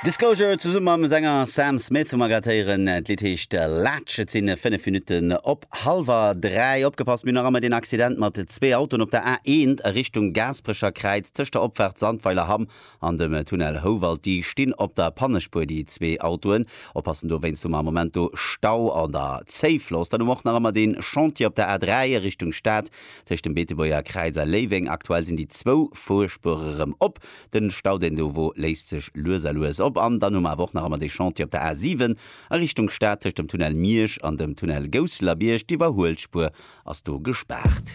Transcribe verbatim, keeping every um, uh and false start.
Disclosure zesumme mam Sänger Sam Smith hu mer grad héieren. D'Lidd heescht Latch. Et sinn fënnef Minutten op hallwer dräi. Opgepasst, mir hunn nach ëmmer deen Accident mat zwee Autoen op der A eent a Richtung Gaasperecher Kräiz tëscht der Opfaart Sandweiler-Hamm an dem Tunnel Houwald. Déi stinn op der Pannespuer, déi zwee Autoen. Oppassen, dowéinst hu mer am Moment do Stau an der Zéifloss. Dann hu mer och nach ëmmer dee Chantier op der A dräi a Richtung Stad tëscht dem Beetebuerger Kräiz a Léiweng. Aktuell sinn déi zwou Fuerspuere rëm op. Den Stau deen do wor léist sech lues a lues op an dann hu mer awer och nach ëmmer dee Chantier op der A siwen a Richtung Stad tëscht dem Tunnel Miersch an dem Tunnel Gousseler Bierg. D'Iwwerhuelspuer ass do gespaart.